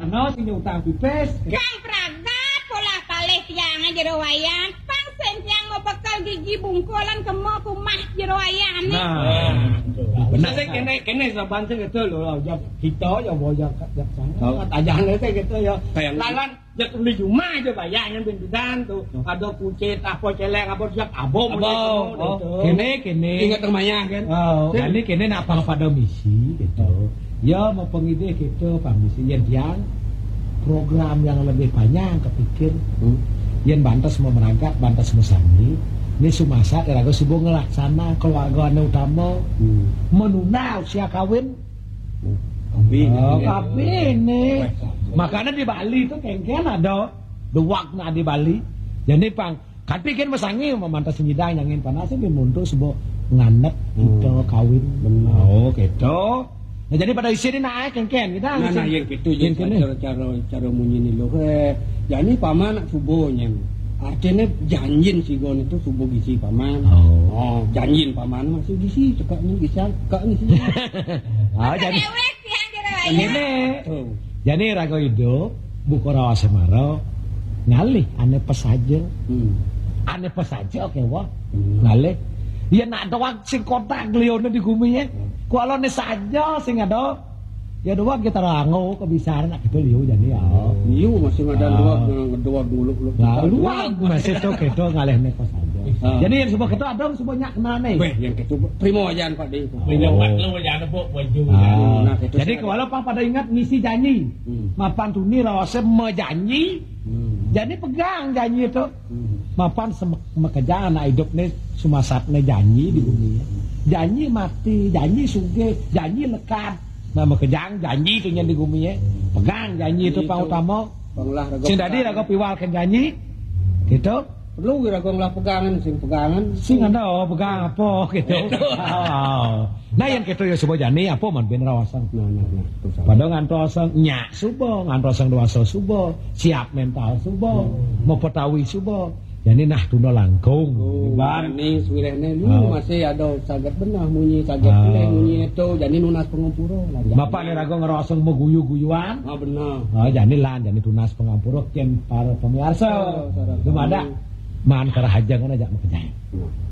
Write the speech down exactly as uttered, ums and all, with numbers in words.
No, sing utang pipis. Kang pragat polah palih tiang jero wayah. Pang sing tiang mabekel gigi bungkulan kema kumah jero wayah nih. Nah, benar. Sing kene, kene saban sing itu lho, ya kita ya wayah kat jak sana. Oh. Kat aja sing gitu ya. Kayak lalan jak beli rumah aja bayarnya bintudan tuh. Oh. Ada kucit apa celeng apa siap abong. Abong. Gitu. Oh. Kene, kene. Ingat rumahnya kan? Oh. Jadi kene nak pang pada misi gitu. Ya, mau pengidih gitu, Pak Misi. Yen tiang program yang lebih panjang kepikir. Hmm. Yen bantes mau merangkat, bantes mau sami. Ini sumasat iraga subuh ngelaksana keluarga anu utama. Hmm. Menunda usia kawin. Tapi oh, ini tapi ini. Weh, makanya di Bali itu kengken ada dewak nak di Bali. Jadi pang Kan pikir masangi mamantas nyidang nyangin panas ini muntuk sebuah nganet kita kawin. Benar. Oh, gitu. Nah, jadi pada isi ini naik kengken kita. Nah, nah, yang gitu, yang cara, cara, cara munyi ini loh. Eh, jadi paman nak subuh nyang. Artinya janjin si gon itu subuh gisi paman. Oh. Oh, janjin paman masih gisi, cekaknya gisi, cekaknya gisi. Ah, jadi. Dewek, tiang jero wayah. Ini. Tuh. Jani raga idup, buka rawa semara, ngalih ane pesaja. Hmm. Ane pesaja kewa, hmm, ngalih. Ya nak doang sing kotak lione di gumi ya. Hmm. Kualone saja sing ada. Ya doang kita rango kebisaran nak kita liu jani ya. Liu masih ada ah. Doang, doang nguluk-nguluk. Nah, luang masih to kita ngalih ne pesaja. Ah. Jadi yang sebab kita ada sebab nyak kenane. Weh, yang kita primo aja Pak Di. Primo Pak lu aja ada bok baju. Ah. Nah, kita jadi kalau apa pada ingat ngisi janji. Hmm. Mapan tuni rasa mejanji. Hmm. Jadi pegang janji itu. Hmm. Mapan sem- mekeja anak hidup nih sumasat nih janji di bumi ya. Janji mati, janji sugih, janji lekat. Nah, mekejang janji itu yang di bumi ya. Pegang janji itu pang utama. Sing tadi raga piwal ke janji. Gitu. Perlu kira gong lah pegangan, sing pegangan. Sing ada oh, pegang apa gitu. Oh. Nah, yang kita ya suba jani apa man ben rawasang. Nah, nah, nah. Pada ngantosang nyak suba, ngantosang dewasa suba, siap mental suba, hmm, mau petawi suba. Jani nah tunda langkung. Oh, ini suwirene lu masih ada saget benah munyi saget ah. Munyi itu jani nunas pengumpura. Bapak ni raga ngerosong meguyu-guyuan. Ah, benar. Ah, jani lan jani tunas pengampura ken para pemirsa. Oh, belum ada. Man karahaja ngono aja makanya.